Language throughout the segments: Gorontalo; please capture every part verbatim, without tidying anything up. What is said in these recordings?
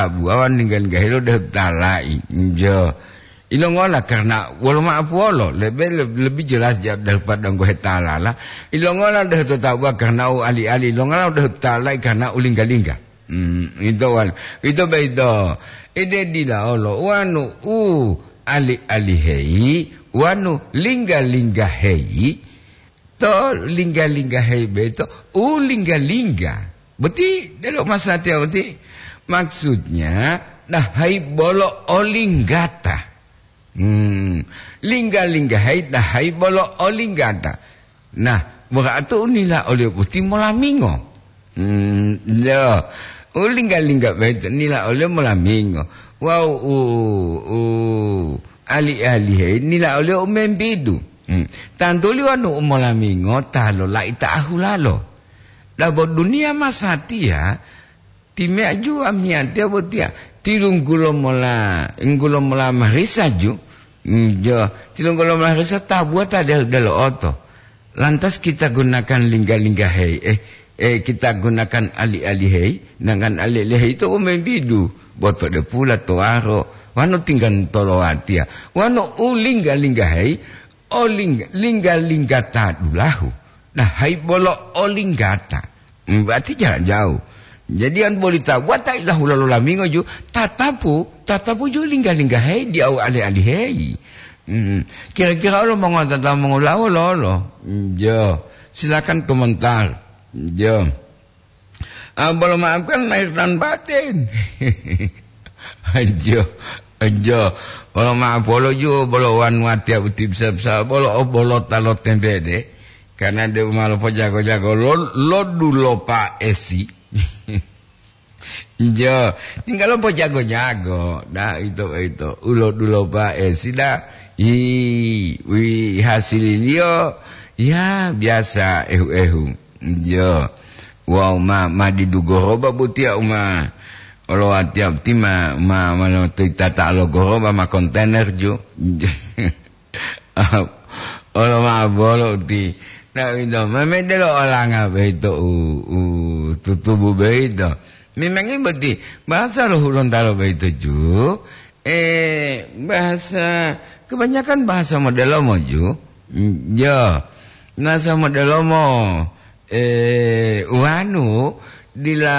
tabuwa wawu lingga-lingga helo dehu tala'i. Jo. Ilongola karena wolo ma'apuwolo, lebe-, le-, lebih jelas ja-, daripada ngohe talala. Ilongola dehu to tabuwa karena u ali-ali, ilongola dehu tala'i karena u lingga-lingga. Hmm, ito wal-, ito beito. Ede dila olo wanu u ali-alihei, wanu lingga-linggaheyi, to lingga-linggaheyi beito, u lingga-lingga. Boti, delo masatiya boti. Maksudnya, dahayi bolo olinggata. Hmm, lingga-linggaheyi dahayi bolo olinggata. Nah, berarti unila oliyo boti molamingo. Hmm, yo. Ulingga-lingga boyito nila oliyo molamingo. Wawu u, u ali-alihei nila oliyo u membidu. Hmm. Tantuli wonu u molamingo ta lolai ta ahulalo. Dabo duniya masatiya, timeya juwa miyatiya botiya, tilunggulo mola, nggulo mola marisa ju. Hmm, jo, tilunggulo mola marisa tabuwa ta del-, delo'oto. Lantas kita gunakan lingga-lingga hei, eh, eh, kita gunakan ali-ali hei, dengan ali-ali hei itu membidu, boto de pula towaro, wano tinggan tolowatiya, wano u lingga-lingga hei, o lingga-, lingga-lingga ta dulahu, nah hai bolo o linggata. Hmm, berarti jarak jauh. Jadi an boli tabuwa ta ilahula lolamingo ju, tatapu, tatapu ju lingga-lingga hei di au ali-ali hei. Hmm. Kira-kira olo mongotata mongolawo lolo? Jo, silakan komentar. Jo. Ah, bolo maafkan lahir dan batin. Jo, jo. Bolo maaf bolo ju, bolo wan watiya uti bisa-bisa, bolo o bolo talo tembe de. Karena de umalo pojago-jago lo, lo dulo pa esi. Jo, tinggal pojago-jago. Nah, itu, itu. Ulo dulo pa esi da. Ih, wih, hasililiyo, ya, biasa, ehu-ehu. Jo. Wawu ma, ma didu goroba botiya uma olowatiya boti ma, ma, ma lotoyi tata lo goroba ma kontainer ju. Olo ma bolo uti. Na uwito, ma medelo olanga boyito u, u tutubu boyito. Memangi boti bahasa lo Hulontalo boyito ju, eh, bahasa, kebanyakan bahasa modelomo ju. Mm, ya. Bahasa modelomo, eh, wanu dila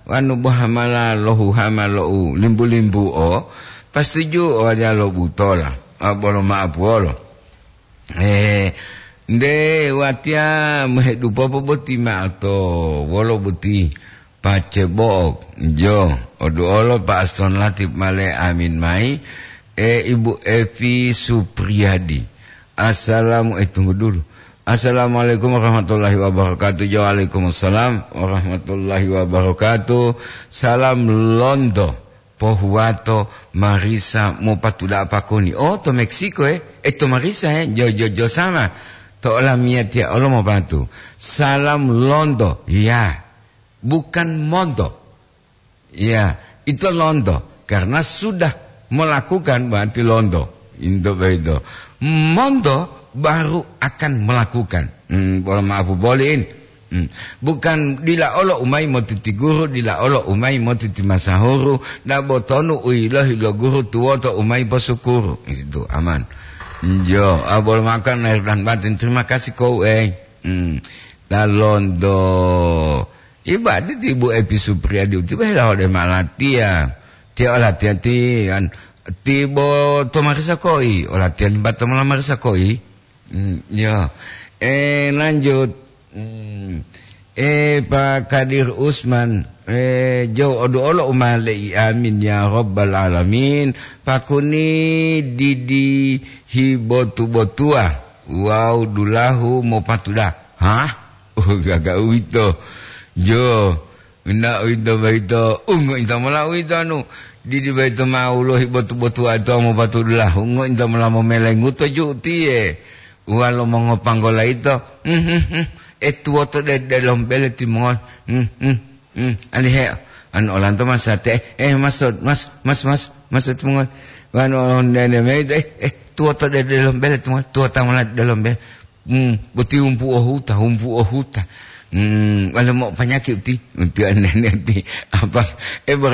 wanu bohamala lohuhama lo u limbu-limbuo, pasti ju o waliya lo butola, a, bolo ma'apuwolo. Eh, nde watiya mohedupopo boti ma'o to wolo boti. Pace bo'o, jo, oduolo pa Aston Latif male amin mayi, e, Ibu Evi Supriyadi. Assalamu-, eh, tunggu dulu. Assalamualaikum warahmatullahi wabarakatuh. Jo, waalaikumsalam warahmatullahi wabarakatuh. Salam londo, pohuwato, marisa, mopatuda'a pakoni. Oh, to Meksiko, eh? Eh, to marisa, eh? Jo, jo, jo sama. To olamiyatiya olo mopatu. Salam londo, ya. Bukan monto. Ya, itu lonto. Karena sudah melakukan berarti lonto. Into boyito. Monto baru akan melakukan. Hmm, bolo ma'apu boli'in. Hmm. Bukan dila olo umayi motiti guru, dila olo umayi motiti masahuru, dabo tonu u yilohi lo guru tuwoto umayi posukuru. Itu aman. Jo, a, bolo makan lahir dan batin. Terima kasih kau, eh. Hmm. Ta lonto. Ibade ti Ibu Epi Supriyadi utiye hela ode malatiya. Tiya olatiya ti an-, ti bo to marisa koi, olatiya limba to mola marisa koi. Hmm, ya. Eh, lanjut. Hmm. Eh, Pak Kadir Usman, eh, jo odu olo umale'i, amin ya rabbal alamin. Pakuni didi hibotu-botua, wawu dulahu mopatuda. Hah? Oh, gaga uwito. Jo, na uwito boyito, ungo inta mola uwito anu, didi boyito ma ulohi botu-botuwa to mopatudulahu, ungo inta mola momelenguto ju utiye. Uwalo mongopanggola yito, hmm, hmm, hmm, e tuwoto de, de lombele timongol, hmm, hmm, hmm, alihe, anu olanto masate, eh, eh, mas, mas, mas, mas, mas timongol, wanu olondene meyito, eh, eh, tuwoto de, de lombele timongol, tuwota mola de lombele. Hmm, boti humpu o huta, humpu o huta. Hmm, wale mo panyaki uti, uti anene uti. Apa, eh,